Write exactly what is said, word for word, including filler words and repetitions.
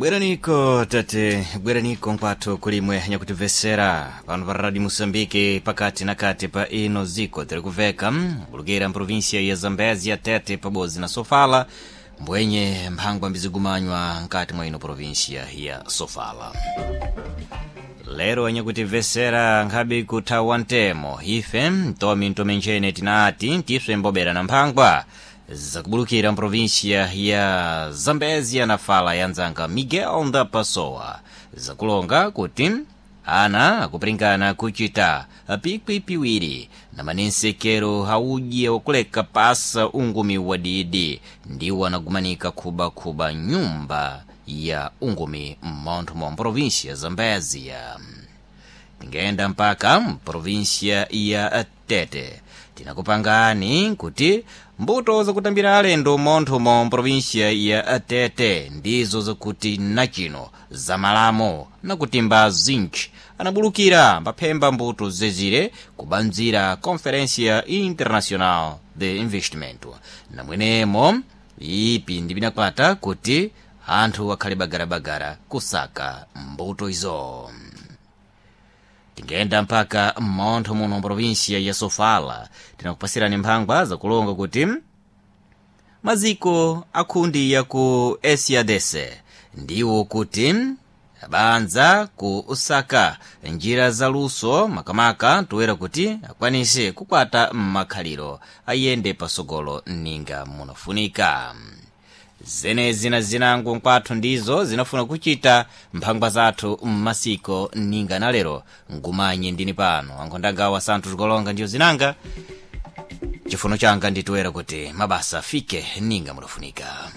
Bweraniko tate, bweraniko nkwathu kulimwe nyakutimvesera pano pa Radio Moçambique, pakati na kati pa ino ziko tiri kuveka bulukira mprovinsia ya Zambezia, Tete pabodzi na Sofala, mbwenye mphangwa mbizigumanywa nkati mwa ino provinsia ya Sofala. Lero anyakutimvesera nkhabe kuthawa ntemo ife ntomi ntomenjene tinati tiswe mbobera na mphangwa zakubulukira mprovinsia ya Zambezia na fala ya nzanga Miguel da Pessoa, zakulonga kuti ana akupiringana kuchita pikwi piwiri na manensekero haudye wakuleka pasa ungumi wa didi ndiwo anagumanika khubakhuba nyumba ya ungumi mmontho mwa mprovinsia ya Zambezia. Tingenda mpaka mprovinsia ya Tete, tinakupangani kuti mbuto zakutambira alendo montho mo mprovinsia ya Tete ndizo zakuti nachino zamalamo nakutimba zinc anabulukira mbaphemba mbuto zezire kubanzira Conferência Internacional de Investimento, namwenemo ipi ndi binakwata kuti anthu akhale bagarabagara kusaka mbuto izo. Tingenda mpaka mmontho muno mprovinsia ya Sofala, tinakupasirani mphangwa zakulonga kuti maziko akhundi ya ku Esiadese ndiwo kuti abanza ku usaka njira za luso makamaka toera kuti akwanise kukwata mmakhaliro ayende pasogolo ninga munafunika. Zenezi na zinango nkwathu ndizo zinafuna kuchita mphangwa zathu mmasiko ninga na lero ngumanye ndini pano ankhondangawa santhu tikolonga ndiyo zinanga chifuno changa nditoera kuti mabasa afike ninga munafunika.